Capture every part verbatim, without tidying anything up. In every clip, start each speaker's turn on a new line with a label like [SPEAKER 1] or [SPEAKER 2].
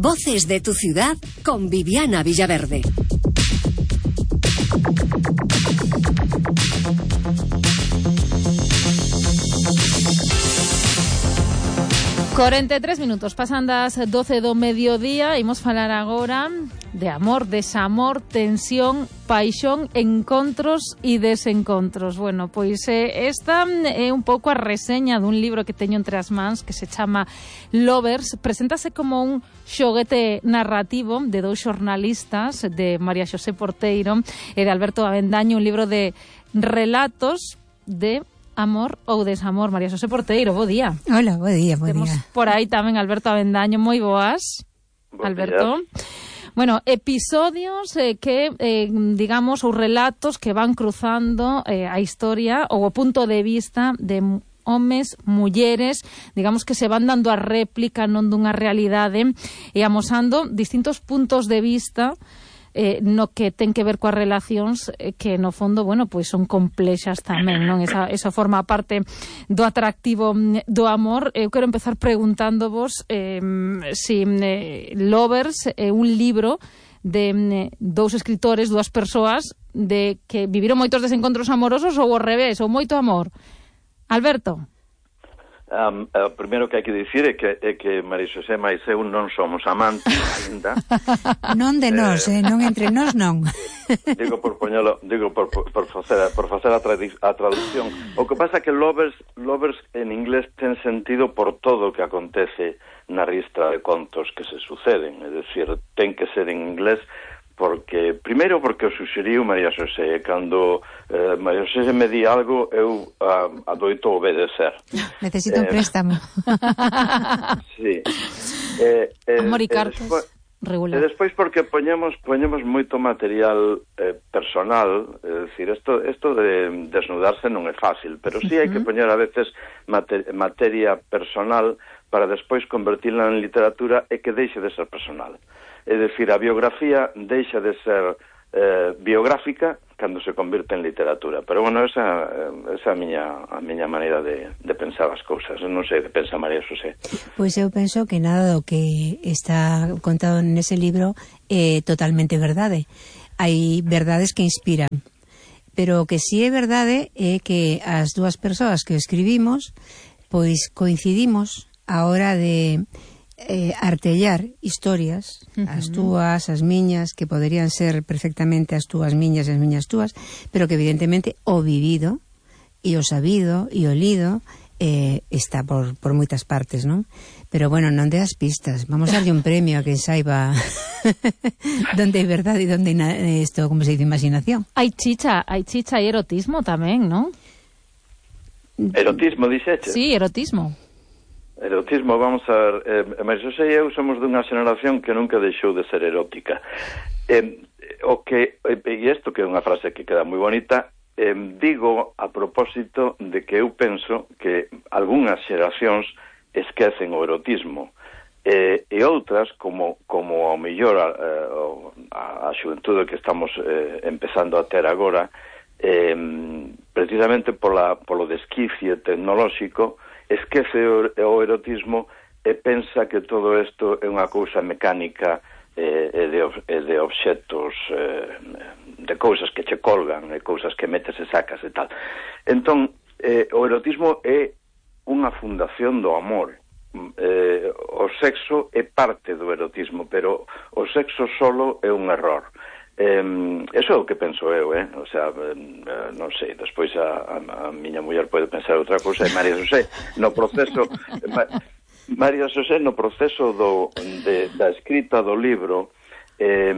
[SPEAKER 1] Voces de tu ciudad con Viviana Villaverde.
[SPEAKER 2] cuarenta e tres minutos, pasan das doce do mediodía. Imos falar agora de amor, desamor, tensión, paixón, encontros e desencontros. Bueno, pois eh, esta é un pouco a reseña dun libro que teño entre as mans que se chama Lovers. Preséntase como un xoguete narrativo de dous xornalistas, de María Xosé Porteiro e de Alberto Avendaño, un libro de relatos de amor ou desamor. María Xosé Porteiro, bo día.
[SPEAKER 3] Hola, bo día, bo
[SPEAKER 2] Temos
[SPEAKER 3] día.
[SPEAKER 2] por aí tamén Alberto Avendaño, moi boas.
[SPEAKER 4] Bo
[SPEAKER 2] Alberto.
[SPEAKER 4] días.
[SPEAKER 2] Bueno, episodios eh, que, eh, digamos, ou relatos que van cruzando eh, a historia ou o punto de vista de homes, mulleres, digamos que se van dando a réplica non dunha realidade e amosando distintos puntos de vista Eh, no que ten que ver coas relacións eh, que no fondo, bueno, pois son complexas tamén, non? Esa, esa forma parte do atractivo do amor. Eu quero empezar preguntándovos eh, si eh, Lovers é un libro de eh, dous escritores, dúas persoas de que viviron moitos desencontros amorosos ou ao revés, ou moito amor. Alberto.
[SPEAKER 4] Um, o primeiro que hai que dicir é que, é que María Xosé máis eu non somos amantes ainda.
[SPEAKER 3] Non de nós, eh, non entre nós non.
[SPEAKER 4] Digo por poñelo, digo por, por, por facer, por facer a, tradi- a traducción. O que pasa é que Lovers, Lovers en inglés ten sentido por todo o que acontece na ristra de contos que se suceden, é dicir, ten que ser en inglés porque, primeiro porque o suxeriu María Xosé, cando eh, María Xosé me di algo eu uh, adoito obedecer.
[SPEAKER 3] Necesito un
[SPEAKER 4] Eh,
[SPEAKER 3] préstamo.
[SPEAKER 4] Sí. Eh, eh,
[SPEAKER 2] Amor e
[SPEAKER 4] e
[SPEAKER 2] cartas,
[SPEAKER 4] despois,
[SPEAKER 2] regular.
[SPEAKER 4] e despois porque poñemos poñemos moito material eh, personal, é dicir, isto isto de desnudarse non é fácil, pero sí hai que poñer a veces mate, materia personal para despois convertirla en literatura e que deixe de ser personal. É dicir, a biografía deixa de ser eh, biográfica cando se convirte en literatura. Pero, bueno, esa, esa é a miña, a miña maneira de, de pensar as cousas. Non sei que pensa María Xosé.
[SPEAKER 3] Pois eu penso que nada do que está contado nese libro é totalmente verdade. Hai verdades que inspiran. Pero o que sí é verdade é que as dúas persoas que escribimos pois coincidimos a hora de eh, artellar historias, uh-huh. as túas, as miñas, que poderían ser perfectamente as túas miñas e as miñas túas, pero que evidentemente o vivido e o sabido e o lido eh, está por, por moitas partes, non? Pero bueno, non de as pistas, vamos a darlle un premio a quen saiba donde é verdade e donde é isto, como se dice, imaginación.
[SPEAKER 2] Hai chicha, hai chicha e erotismo tamén, non?
[SPEAKER 4] Erotismo, dixeche?
[SPEAKER 2] Sí, erotismo.
[SPEAKER 4] Erotismo, vamos a ver, eh, María Xosé e eu somos dunha xeración que nunca deixou de ser erótica. Eh, o que, e isto que é unha frase que queda moi bonita, eh, digo a propósito de que eu penso que algunhas xeracións esquecen o erotismo, eh, e outras, como, como ao mellor a, a, a xuventude que estamos eh, empezando a ter agora, eh, precisamente pola, polo desquicie tecnolóxico, esquece o, o erotismo e pensa que todo isto é unha cousa mecánica eh, e, de, e de obxectos, eh, de cousas que che colgan, e cousas que metes e sacas e tal. Entón, eh, o erotismo é unha fundación do amor. Eh, o sexo é parte do erotismo, pero o sexo solo é un error. Eh, eso é o que penso eu, eh? O sea, eh, non sei, despois a, a, a miña muller pode pensar outra cousa, e María Xosé no proceso ma, María Xosé no proceso do, de, da escrita do libro eh,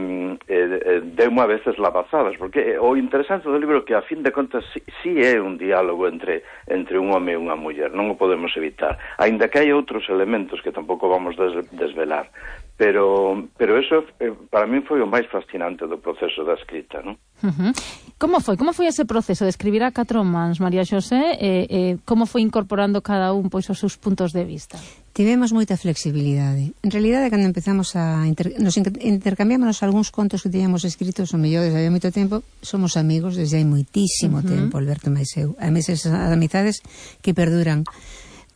[SPEAKER 4] eh, deu-me a veces lavazadas, porque o interesante do libro é que a fin de contas si, si é un diálogo entre, entre un home e unha muller, non o podemos evitar, aínda que hai outros elementos que tampouco vamos des, desvelar. Pero, pero eso eh, para mí foi o máis fascinante do proceso da escrita, non?
[SPEAKER 2] Uh-huh. Como foi? Como foi ese proceso de escribir a catro mans, María Xosé? Eh, eh, como foi incorporando cada un pois os seus puntos de vista?
[SPEAKER 3] Tivemos moita flexibilidade. En realidade, cando empezamos a inter... nos intercambiámonos algúns contos que teníamos escritos, o mellor desde hai moito tempo, somos amigos desde hai moitísimo uh-huh. tempo, Alberto máis eu. A mesas amizades que perduran.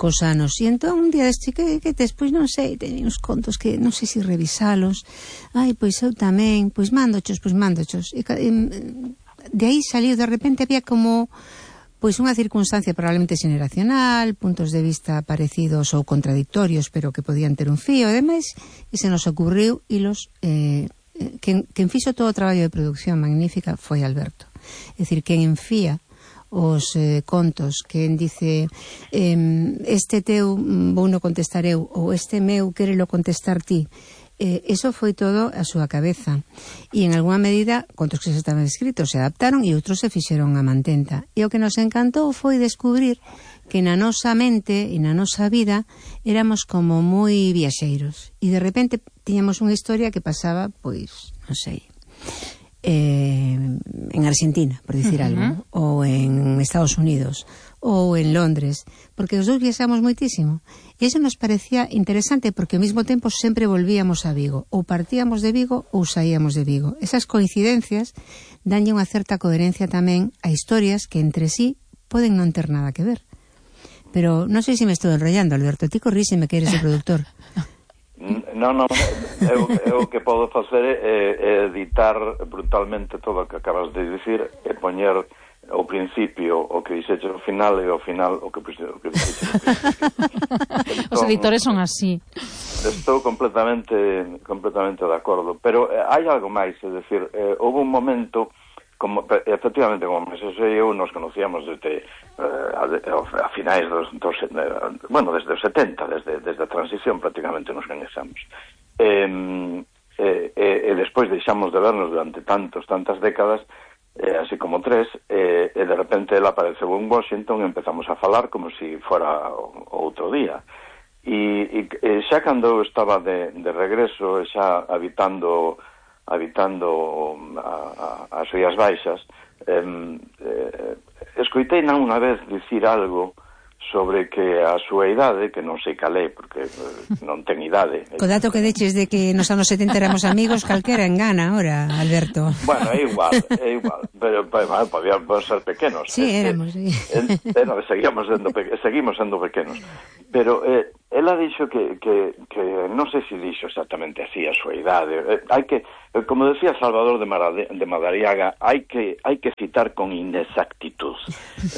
[SPEAKER 3] cos anos. E entón un día deste que, que despois non sei, teñen uns contos que non sei se revisalos. Ai, pois eu tamén, pois mandochos, pois mandochos. E, e, de aí saliu, de repente había como pois unha circunstancia probablemente xeneracional, puntos de vista parecidos ou contradictorios, pero que podían ter un fío, e demais, e se nos ocurriu hilos. Eh, quen, quen fixo todo o traballo de producción magnífica foi Alberto. É dicir, quen enfía os eh, contos, quen dice eh, este teu vou no contestar eu, ou este meu quérelo contestar ti. Eh, eso foi todo a súa cabeza, e en alguma medida contos que se estaban escritos se adaptaron e outros se fixeron a mantenta, e o que nos encantou foi descubrir que na nosa mente e na nosa vida éramos como moi viaxeiros, e de repente tiñamos unha historia que pasaba, pois, non sei, eh, en Argentina, por dicir uh-huh. algo, ou en Estados Unidos, ou en Londres, porque os dous viaxamos moitísimo. E iso nos parecía interesante porque ao mesmo tempo sempre volvíamos a Vigo, ou partíamos de Vigo ou saíamos de Vigo. Esas coincidencias danlle unha certa coherencia tamén a historias que entre sí poden non ter nada que ver. Pero non sei se me estou enrollando, Alberto, ti corríxeme que eres o produtor.
[SPEAKER 4] Non, non, eu, eu que podo facer é, é editar brutalmente todo o que acabas de dicir e poñer ao principio o que dixeche ao final e ao final o que, o que dixeche ao principio. Entón, os
[SPEAKER 2] editores son así.
[SPEAKER 4] Estou completamente completamente de acordo, pero eh, hai algo máis, é dicir, eh, houve un momento como efectivamente como Moisés e eu nos conocíamos desde eh, a, a finais dos, dos eh, bueno, desde os setenta, desde, desde a transición prácticamente nos conhecemos. Eh, eh, eh, e despois deixamos de vernos durante tantos, tantas décadas, eh, así como tres, eh, e de repente ela apareceu en Washington e empezamos a falar como si fora outro día. E, e, e xa cando eu estaba de, de regreso, xa habitando habitando a, a, as Rías Baixas, eh, eh, escoitei non unha vez dicir algo sobre que a súa idade, que non sei calé, porque eh, non ten idade.
[SPEAKER 3] Co dato que deches de que nos anos setenta éramos amigos, calquera engana ahora, Alberto.
[SPEAKER 4] Bueno, é igual, é igual, pero bueno, podíamos ser pequenos.
[SPEAKER 3] Sí, eh, éramos, sí.
[SPEAKER 4] Eh, eh, no, seguíamos sendo, seguimos sendo pequenos. Pero eh, ela dixo que, que, que non sei se dixo exactamente así a súa idade. Eh, hai que, eh, como decía Salvador de, Marade, de Madariaga, hai que, hai que citar con inexactitud.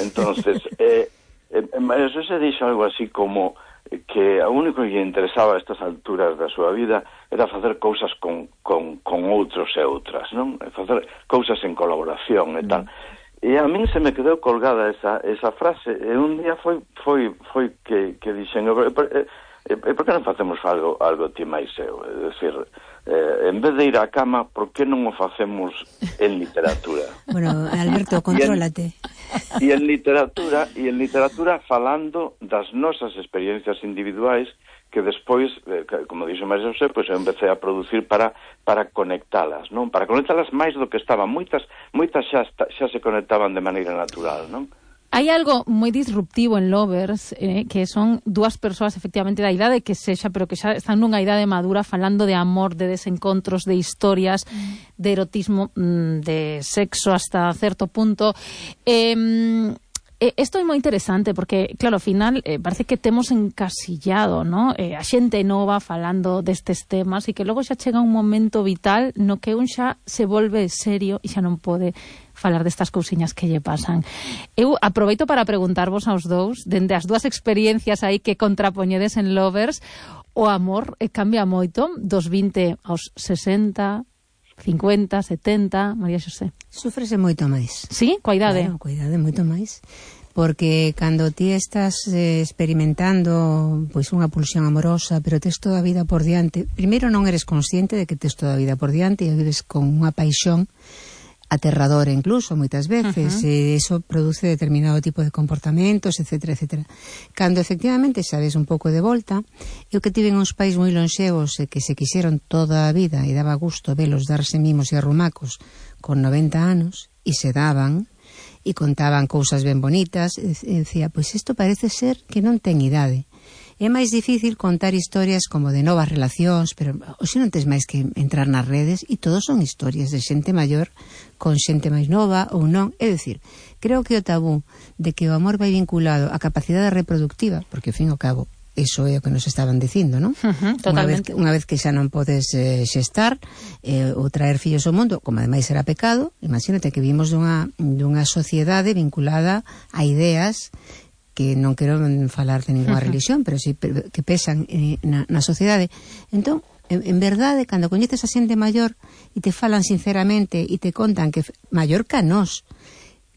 [SPEAKER 4] Entonces, eh, Eso se dixo algo así como que o único que lle interesaba a estas alturas da súa vida era facer cousas con, con, con outros e outras, non? Facer cousas en colaboración e tal. E a min se me quedou colgada esa, esa frase, e un día foi foi foi que, que dixen, e por, e, e por que non facemos algo, algo ti máis eu? É dicir, eh, en vez de ir á cama, por que non o facemos en literatura?
[SPEAKER 3] Bueno, Alberto, contrólate.
[SPEAKER 4] E en literatura, e en literatura falando das nosas experiencias individuais que despois, eh, como dixo máis José, pois eu empecé a producir para para conectalas, non? Para conectalas máis do que estaban. Moitas moitas xa xa se conectaban de maneira natural, non?
[SPEAKER 2] Hai algo moi disruptivo en Lovers, eh, que son dúas persoas efectivamente da idade que sexa, pero que xa están nunha idade madura falando de amor, de desencontros, de historias, mm. de erotismo, de sexo hasta certo punto. Eh, Isto é moi interesante porque, claro, ao final eh, parece que temos encasillado, ¿no? eh, a xente nova falando destes temas e que logo xa chega un momento vital no que un xa se volve serio e xa non pode falar destas cousiñas que lle pasan. Eu aproveito para preguntarvos aos dous, dende as dúas experiencias aí que contrapoñedes en Lovers, o amor eh, cambia moito dos vinte aos sesenta, cincuenta, setenta, María Xosé.
[SPEAKER 3] Sufrese moito máis.
[SPEAKER 2] Sí? Coa idade?
[SPEAKER 3] Claro, coa idade moito máis. Porque cando ti estás eh, experimentando pois unha pulsión amorosa, pero tes toda a vida por diante, primeiro non eres consciente de que tes toda a vida por diante e vives con unha paixón aterradora incluso, moitas veces, uh-huh. e iso produce determinado tipo de comportamentos, etcétera, etcétera. Cando efectivamente sabes un pouco de volta, eu que tiven uns pais moi lonxevos e que se quixeron toda a vida e daba gusto velos darse mimos e arrumacos con noventa anos, e se daban, e contaban cousas ben bonitas, e decía, pois isto parece ser que non ten idade. É máis difícil contar historias como de novas relacións, pero hoxe non tes máis que entrar nas redes e todos son historias de xente maior con xente máis nova ou non. É dicir, creo que o tabú de que o amor vai vinculado á capacidade reproductiva, porque ao fin e ao cabo iso é o que nos estaban dicindo, non?
[SPEAKER 2] Uh-huh,
[SPEAKER 3] unha, vez que, unha vez que xa non podes eh, xestar eh, ou traer fillos ao mundo, como ademais era pecado, imagínate que vimos dunha, dunha sociedade vinculada a ideas que non quero falar de ninguna uh-huh. religión, pero sí que pesan eh, na, na sociedade. Entón, en, en verdade, cando coñeces a xente maior e te falan sinceramente e te contan que maior que a nós,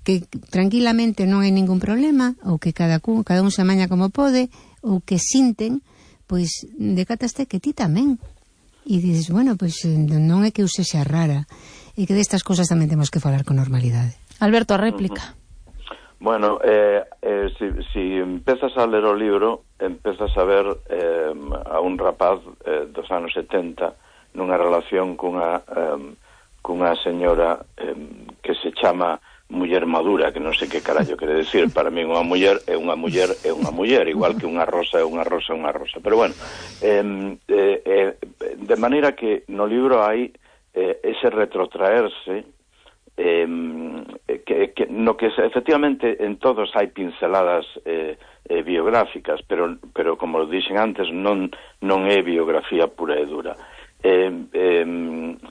[SPEAKER 3] que tranquilamente non hai ningún problema, ou que cada, cada un se amaña como pode, ou que sinten, pois decataste que ti tamén. E dices, bueno, pois non é que eu sexa rara, e que destas cosas tamén temos que falar con normalidade.
[SPEAKER 2] Alberto, a réplica.
[SPEAKER 4] Bueno, eh, eh, si, si empezas a ler o libro, empezas a ver eh, a un rapaz eh, dos anos setenta nunha relación cunha, eh, cunha señora eh, que se chama muller madura, que non sei que carallo quere decir. Para mí unha muller é unha muller é unha muller, igual que unha rosa é unha rosa é unha rosa. Pero bueno, eh, eh, de maneira que no libro hai eh, ese retrotraerse eh, que, que, no que efectivamente en todos hai pinceladas eh, eh, biográficas, pero, pero como dixen antes, non, non é biografía pura e dura. Eh, eh,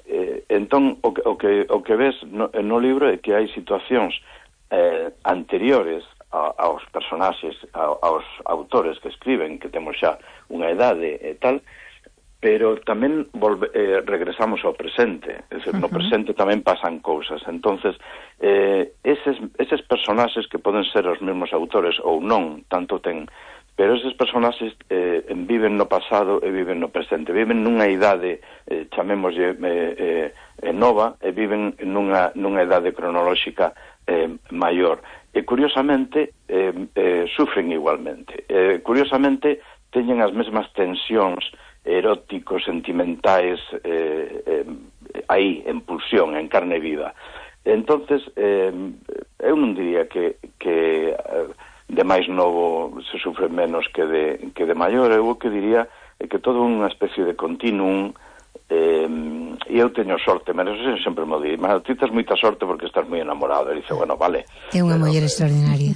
[SPEAKER 4] eh, entón o que, o que, o que ves no, no libro é que hai situacións eh, anteriores a, aos personaxes, a, aos autores que escriben, que temos xa unha idade e tal, pero tamén volve, eh, regresamos ao presente, é dicir, no presente tamén pasan cousas. Entonces eh, eses, eses personaxes que poden ser os mesmos autores ou non, tanto ten, pero eses personaxes eh, viven no pasado e viven no presente, viven nunha idade, eh, chamémoslle eh, eh, nova, e viven nunha, nunha idade cronolóxica eh, maior. E curiosamente eh, eh, sufren igualmente. Eh, curiosamente teñen as mesmas tensións eróticos, sentimentais, eh, eh, aí, en pulsión, en carne viva. Entonces, eh, eu non diría que... que eh, de máis novo se sufre menos que de, que de maior. Eu o que diría é que todo unha especie de continuum, eh, e eu teño sorte, pero eso sempre me di, mas ti tes moita sorte porque estás moi enamorado. E dice, bueno, vale.
[SPEAKER 3] É unha muller extraordinaria.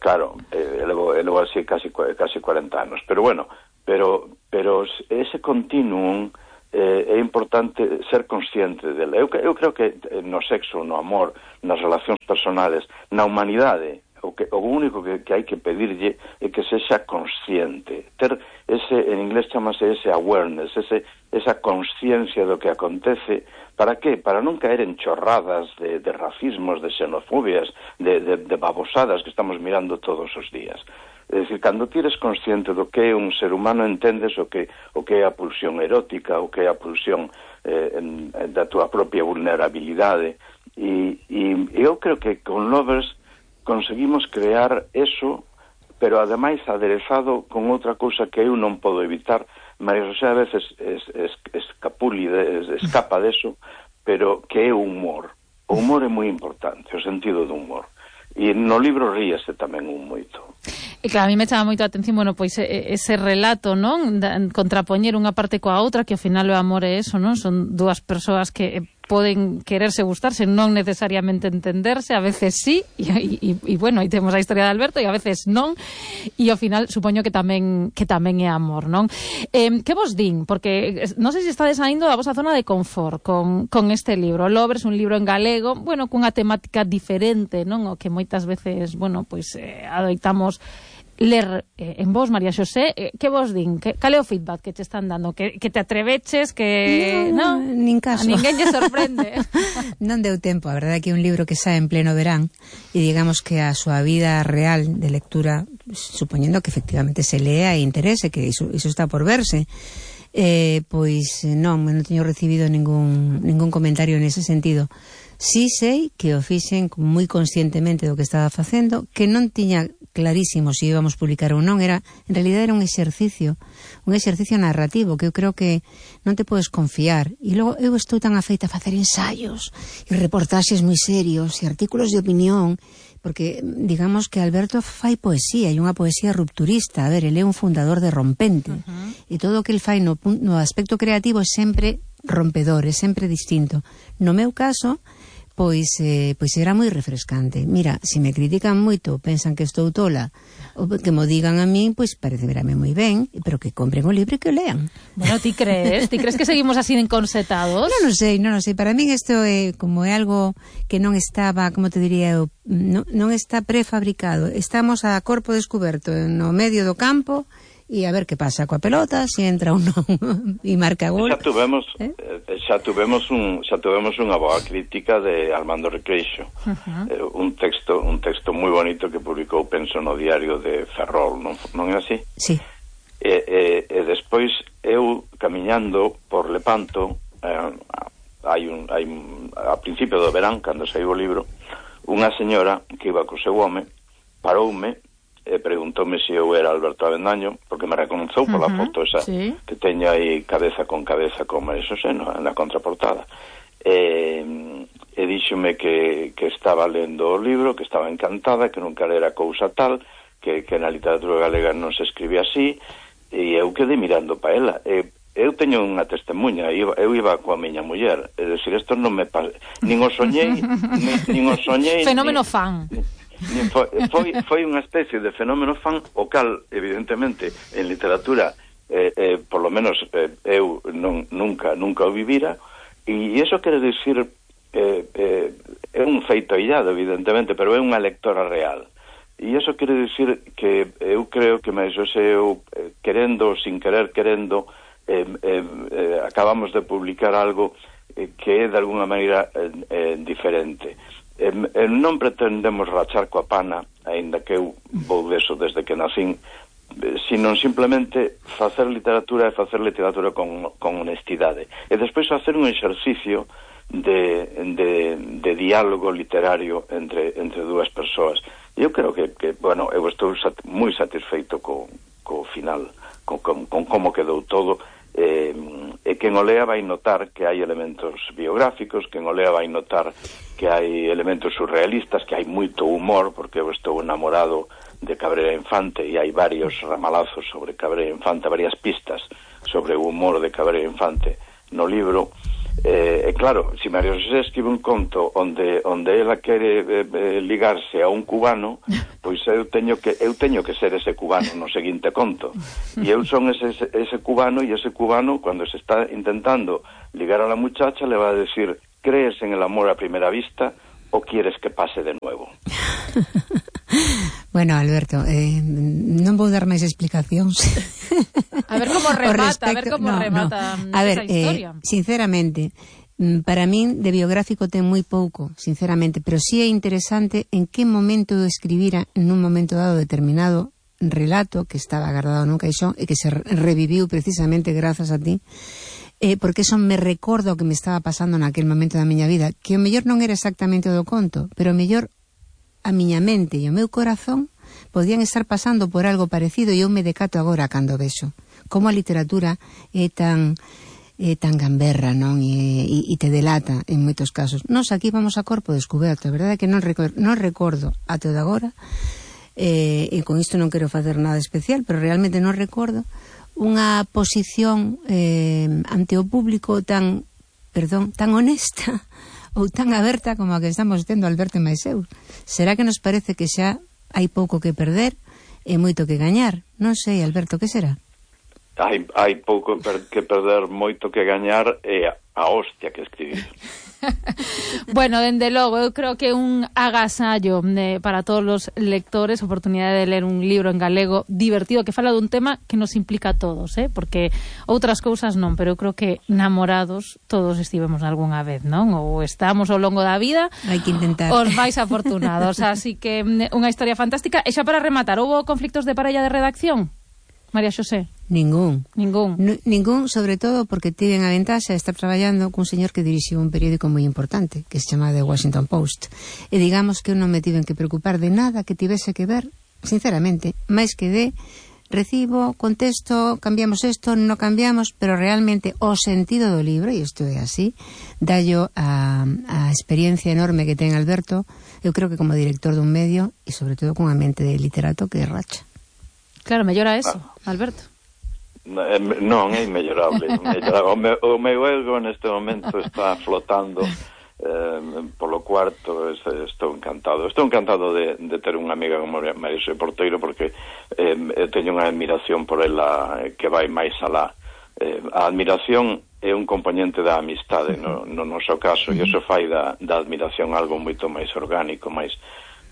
[SPEAKER 4] Claro, eh, levo, levo así casi, casi cuarenta anos, pero bueno, pero, pero ese continuum eh, é importante ser consciente dele. Eu, eu creo que no sexo, no amor, nas relacións personales, na humanidade, o, que, o único que, que hai que pedirlle é que sexa consciente, ter ese, en inglés chamase ese awareness, ese, esa consciencia do que acontece. Para que? Para non caer en chorradas de, de racismos, de xenofobias, de, de, de babosadas que estamos mirando todos os días. É dicir, cando ti eres consciente do que é un ser humano, entendes o que, o que é a pulsión erótica, o que é a pulsión eh, en, da túa propia vulnerabilidade. E, e eu creo que con Lovers conseguimos crear eso, pero ademais aderezado con outra cousa que eu non podo evitar. María José a veces es, es, escapuli, es, escapa deso, pero que é o humor. O humor é moi importante, o sentido do humor. E no libro ríase tamén un moito.
[SPEAKER 2] E claro, a mí me chama moito a atención, bueno, pois ese relato, non? Contrapoñer unha parte coa outra, que ao final o amor é eso, non? Son dúas persoas que poden quererse gustarse, non necesariamente entenderse, a veces sí, e, e, e bueno, aí temos a historia de Alberto, e a veces non, e ao final supoño que tamén que tamén é amor, non? Eh, que vos din? Porque non sei se estades saindo da vosa zona de confort con, con este libro. Lovers, un libro en galego, bueno, cunha temática diferente, non? O que moitas veces, bueno, pois eh, adoitamos ler eh, en vos, María Xosé. Eh, que vos din? Que, cal é o feedback que te están dando? Que, que te atreveches? Que
[SPEAKER 3] no,
[SPEAKER 2] no?
[SPEAKER 3] Nin caso.
[SPEAKER 2] A ninguén lle sorprende.
[SPEAKER 3] Non deu tempo, a verdade é que é un libro que sae en pleno verán e digamos que a súa vida real de lectura, supoñendo que efectivamente se lea e interese, que iso, iso está por verse, eh, pois non, non teño recibido ningún, ningún comentario nese sentido. Sí sei que o fixen moi conscientemente do que estaba facendo, que non tiña clarísimo se íbamos publicar ou non, era, en realidad era un exercicio, un exercicio narrativo que eu creo que non te podes confiar. E logo eu estou tan afeita a facer ensaios e reportaxes moi serios e artículos de opinión, porque digamos que Alberto fai poesía, e unha poesía rupturista. A ver, ele é un fundador de Rompente, uh-huh. e todo o que el fai no, no aspecto creativo é sempre rompedor, é sempre distinto. No meu caso, pois eh, pois era moi refrescante. Mira, se me critican moito, pensan que estou tola, ou que mo digan a min, pois parece verame moi ben, pero que compren o libro e que o lean.
[SPEAKER 2] Bueno, ti crees? Ti crees que seguimos así enconsetados?
[SPEAKER 3] Non, non sei, non, non sei. Para min isto é como é algo que non estaba, como te diría eu, non, non está prefabricado. Estamos a corpo descoberto no medio do campo, e a ver que pasa coa pelota, se entra ou non e marca gol.
[SPEAKER 4] Xa tuvemos
[SPEAKER 3] ¿Eh?
[SPEAKER 4] xa tuvemos un xa tuvemos unha boa crítica de Armando Recreixo. Uh-huh. eh, un texto un texto moi bonito que publicou, penso, no diario de Ferrol, non non é así?
[SPEAKER 3] Sí.
[SPEAKER 4] E, e, e despois eu camiñando por Lepanto, eh, hai un hai a principio do verán, cando saiu o libro, unha señora que iba co seu home paroume e preguntoume se eu era Alberto Avendaño, porque me reconoceu pola uh-huh, foto esa, sí, que teño aí cabeza con cabeza con María Xosé no, na contraportada. E, e díxome que, que estaba lendo o libro, que estaba encantada, que nunca era cousa tal, que, que na literatura galega non se escribía así, e eu quedei mirando pa ela. E, eu teño unha testemunha, eu, eu iba coa miña muller, é dicir, isto non me pasa, nin o soñei, nin, nin o soñei...
[SPEAKER 2] Fenómeno
[SPEAKER 4] nin,
[SPEAKER 2] fan.
[SPEAKER 4] Foi, foi, foi unha especie de fenómeno fan, o cal, evidentemente, en literatura, eh, eh, por lo menos eh, eu non, nunca nunca o vivira, e iso quere dicir, eh, eh, é un feito aillado, evidentemente, pero é unha lectora real. E iso quere dicir que eu creo que máis o seu, eh, querendo, sin querer querendo, eh, eh, eh, acabamos de publicar algo eh, que é de alguna maneira eh, eh, diferente. Eh, eh, non pretendemos rachar coa pana, aínda que eu vou deso desde que nacín, eh, sino simplemente facer literatura e facer literatura con, con honestidade. E despois facer un exercicio de, de, de diálogo literario entre, entre dúas persoas. E eu creo que, que bueno, eu estou sat, moi satisfeito co, co final, con, con, con como quedou todo. Eh, e quen o lea vai notar que hai elementos biográficos, quen o lea vai notar que hai elementos surrealistas, que hai moito humor, porque eu estou enamorado de Cabrera Infante e hai varios ramalazos sobre Cabrera Infante, varias pistas sobre o humor de Cabrera Infante no libro. Eh, e claro, se María Xosé escribe un conto onde onde ela quere eh, eh, ligarse a un cubano, pois eu teño que eu teño que ser ese cubano no seguinte conto. E eu son ese, ese, ese cubano, e ese cubano, cando se está intentando ligar a la muchacha, le va a decir: ¿crees en el amor a primera vista o quieres que pase de nuevo?
[SPEAKER 3] Bueno, Alberto, eh, non vou dar máis explicacións.
[SPEAKER 2] A ver como remata, a ver como
[SPEAKER 3] no,
[SPEAKER 2] remata
[SPEAKER 3] no. A ver,
[SPEAKER 2] esa historia.
[SPEAKER 3] Eh, sinceramente, para min de biográfico ten moi pouco, sinceramente, pero sí é interesante en que momento eu escribira en un momento dado determinado relato que estaba agardado nun caixón e que se reviviu precisamente grazas a ti, eh, porque eso me recorda o que me estaba pasando naquel momento da miña vida, que o mellor non era exactamente o do conto, pero o mellor a miña mente e o meu corazón podían estar pasando por algo parecido, e eu me decato agora cando vexo como a literatura é tan é tan gamberra, non? E, e, e te delata en moitos casos. Nos aquí vamos a corpo descoberto, a verdade é que non, recor non recordo até de agora, eh, e con isto non quero facer nada especial, pero realmente non recordo unha posición eh, ante o público tan, perdón, tan honesta ou tan aberta como a que estamos tendo Alberto e máis eu. Será que nos parece que xa hai pouco que perder e moito que gañar? Non sei, Alberto, que será?
[SPEAKER 4] Hai, hai pouco per, que perder, moito que gañar e a, a hostia que escribir.
[SPEAKER 2] Bueno, dende logo, eu creo que un agasallo eh, para todos os lectores, oportunidade de ler un libro en galego divertido que fala dun tema que nos implica a todos, eh? Porque outras cousas non, pero eu creo que namorados todos estivemos algunha vez, non? Ou estamos ao longo da vida,
[SPEAKER 3] hai que intentar.
[SPEAKER 2] Os máis afortunados, así que unha historia fantástica. E xa para rematar, houbo conflictos de parella de redacción? María Xosé?
[SPEAKER 3] Ningún.
[SPEAKER 2] Ningún.
[SPEAKER 3] N ningún, sobre todo porque tiven a ventaxa de estar traballando cun señor que dirixiu un periódico moi importante, que se chama The Washington Post. E digamos que eu non me tiven que preocupar de nada que tivese que ver sinceramente, máis que de recibo, contesto, cambiamos isto, non cambiamos, pero realmente o sentido do libro, e isto é así, dallo a, a experiencia enorme que ten Alberto, eu creo que como director dun medio e sobre todo cunha mente de literato que racha.
[SPEAKER 2] Claro, mellora eso, ah. Alberto.
[SPEAKER 4] Non, é inmellorable. O meu, o meu ego neste momento está flotando eh, polo cuarto. Estou encantado. Estou encantado de, de ter unha amiga como María Xosé Porteiro, porque eh, teño unha admiración por ela que vai máis alá. Eh, a admiración é un componente da amistade no, no noso caso, e iso fai da, da admiración algo moito máis orgánico, máis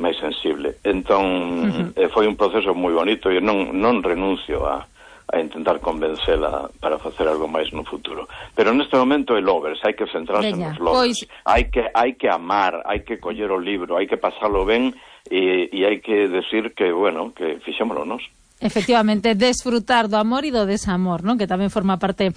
[SPEAKER 4] máis sensible. Entón, uh-huh. eh, foi un proceso moi bonito e non, non renuncio a a intentar convencela para facer algo máis no futuro. Pero neste momento é Lovers, hai que centrarse
[SPEAKER 2] Veña,
[SPEAKER 4] nos Lovers.
[SPEAKER 2] Pois...
[SPEAKER 4] Hai que hai que amar, hai que coller o libro, hai que pasalo ben e, e hai que decir que, bueno, que fixémolo nós.
[SPEAKER 2] Efectivamente, desfrutar do amor e do desamor, non? Que tamén forma parte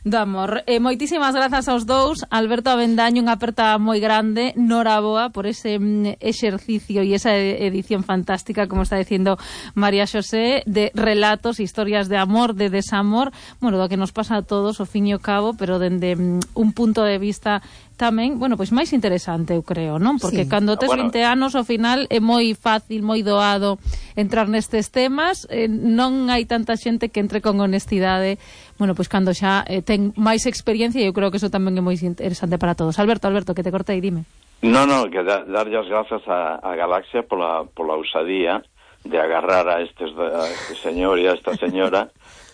[SPEAKER 2] do amor. Eh, moitísimas grazas aos dous. Alberto Avendaño, unha aperta moi grande. Noraboa por ese mm, exercicio e esa edición fantástica, como está dicindo María Xosé, de relatos, historias de amor, de desamor, bueno, do que nos pasa a todos, ao fin e ao cabo, pero dende mm, un punto de vista tamén, bueno, pois máis interesante, eu creo, non? Porque sí. Cando tes bueno. vinte anos, ao final é moi fácil, moi doado entrar nestes temas, eh, non hai tanta xente que entre con honestidade, bueno, pois cando xa eh, ten máis experiencia, e eu creo que eso tamén é moi interesante para todos. Alberto, Alberto, que te cortei, dime.
[SPEAKER 4] No, no, que da, darlle as grazas a, a Galaxia pola, pola usadía de agarrar a, estes, a este señor e a esta señora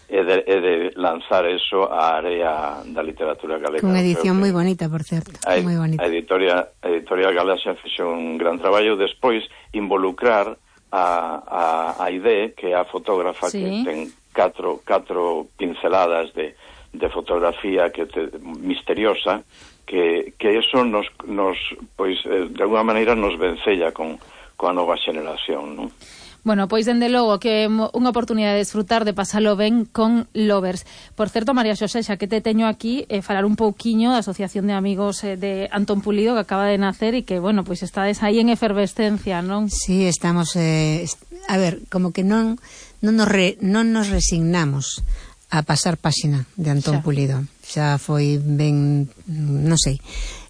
[SPEAKER 4] e de, e de lanzar eso á área da literatura galega.
[SPEAKER 3] Unha edición moi bonita, por certo.
[SPEAKER 4] A,
[SPEAKER 3] moi bonita.
[SPEAKER 4] A editorial, a editorial Galaxia fixo un gran traballo. Despois involucrar a, a, a Aide, que é a fotógrafa, sí. Que ten catro, catro pinceladas de, de fotografía que te, misteriosa, que, que eso nos, nos pois, eh, de alguna maneira nos vencella con, con a nova xeneración, non?
[SPEAKER 2] Bueno, pois dende logo que é unha oportunidade de desfrutar, de pasalo ben con Lovers. Por certo, María Xosé, xa que te teño aquí, eh, falar un pouquiño da Asociación de Amigos eh, de Antón Pulido, que acaba de nacer e que, bueno, pois estades aí en efervescencia, non?
[SPEAKER 3] Sí, estamos, eh, est a ver, como que non, non, nos, re, non nos resignamos a pasar páxina de Antón xa. Pulido. Xa foi ben, non sei,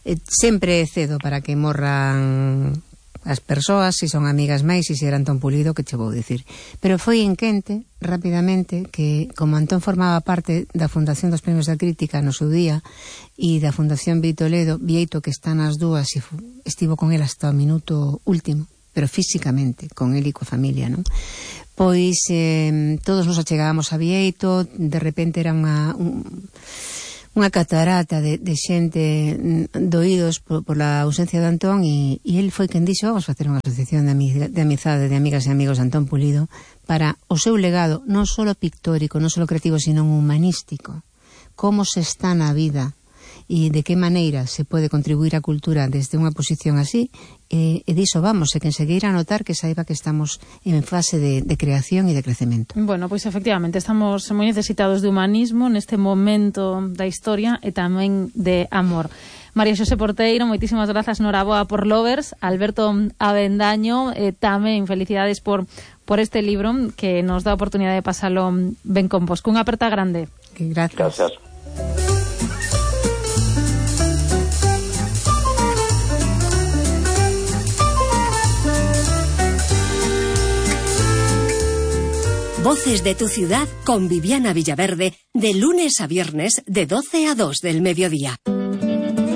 [SPEAKER 3] eh, sempre cedo para que morran as persoas, se son amigas máis, se si era Antón Pulido, que che vou dicir. Pero foi en quente, rapidamente, que como Antón formaba parte da Fundación dos Premios da Crítica no seu día e da Fundación Vieito Ledo, Vieito, que está nas dúas e estivo con el hasta o minuto último, pero físicamente, con el e coa familia, non? Pois eh, todos nos achegábamos a Vieito, de repente era unha... Un, unha catarata de, de xente doídos por, por la ausencia de Antón e, e el foi quen dixo, vamos facer unha asociación de, amiga, de amizade de amigas e amigos de Antón Pulido para o seu legado non só pictórico, non só creativo, sino humanístico, como se está na vida e de que maneira se pode contribuir á cultura desde unha posición así, e, e diso vamos, e quen se queira notar que saiba que estamos en fase de, de creación e de crecemento.
[SPEAKER 2] Bueno, pois efectivamente estamos moi necesitados de humanismo neste momento da historia e tamén de amor. María Xosé Porteiro, moitísimas grazas, noraboa por Lovers. Alberto Avendaño, eh, tamén felicidades por por este libro que nos dá a oportunidade de pasalo ben con vos. Cunha aperta grande.
[SPEAKER 3] Gracias.
[SPEAKER 4] Gracias.
[SPEAKER 1] Voces de tu ciudad con Viviana Villaverde, de lunes a viernes de doce a dos del mediodía.